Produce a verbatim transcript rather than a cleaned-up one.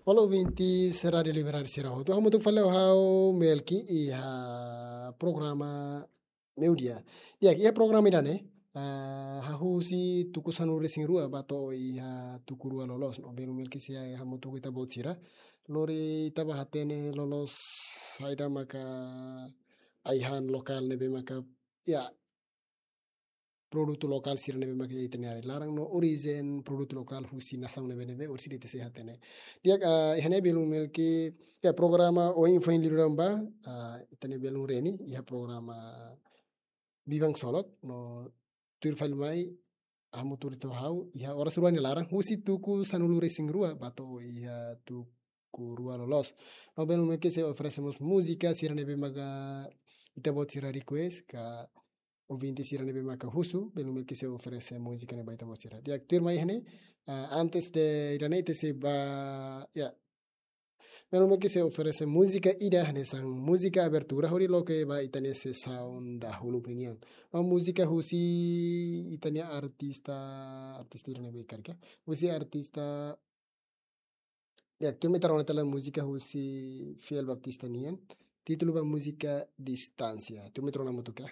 Olá, ouvintes Rádio Liberdade sira hotu. Hamutuk fali ho ha'u Melki iha programa Meiudia. Di'ak, iha programa ida-ne'e, ah, hahú husi tuku sanulu-resin-rua ba to'o iha tuku rua loloos. No belun Melki sei hamutuk ho ita-boot sira. Lori ita bá hatene loloos saida maka ai-han lokál ne'ebé maka, ya, produtu lokál sira ne'ebé maka iha ita-nia área laran no orijen produtu lokál husi nasaun ne'ebé-ne'ebé orsida ita sei hatene. Di'ak, ah, iha ne'e belun Melki, ya, programa ohin foin liuliu ba, ah, ita-nia belun Reni iha programa Biban Ksolok no tuir fali mai hamutuk ho ha'u iha oras rua nia laran husi tuku sanulu-resin-rua ba to'o iha tuku rua loloos. No belun Melki sei oferese mós múzika sira ne'ebé maka ita-boot sira request ka ouvinte sira ne'ebé maka husu, belun Melki sei oferese múzika ne'e ba ita-boot sira. Di'ak, tuirmai iha ne'e, ah, antes de ida-ne'e ita sei bá, ya, belun Melki sei oferese múzika ida hanesan múzika abertura hodi loke ba ita-nia sesaun dahuluk ninian. No múzika husi ita-nia artista, artista ida ne'ebé karik, husi artista, ya, tuirmai ita rona tiha ona múzika husi Fiel Baptista nian, títulu ba múzika Distánsia. Tuirmai ita rona hamutuk ka.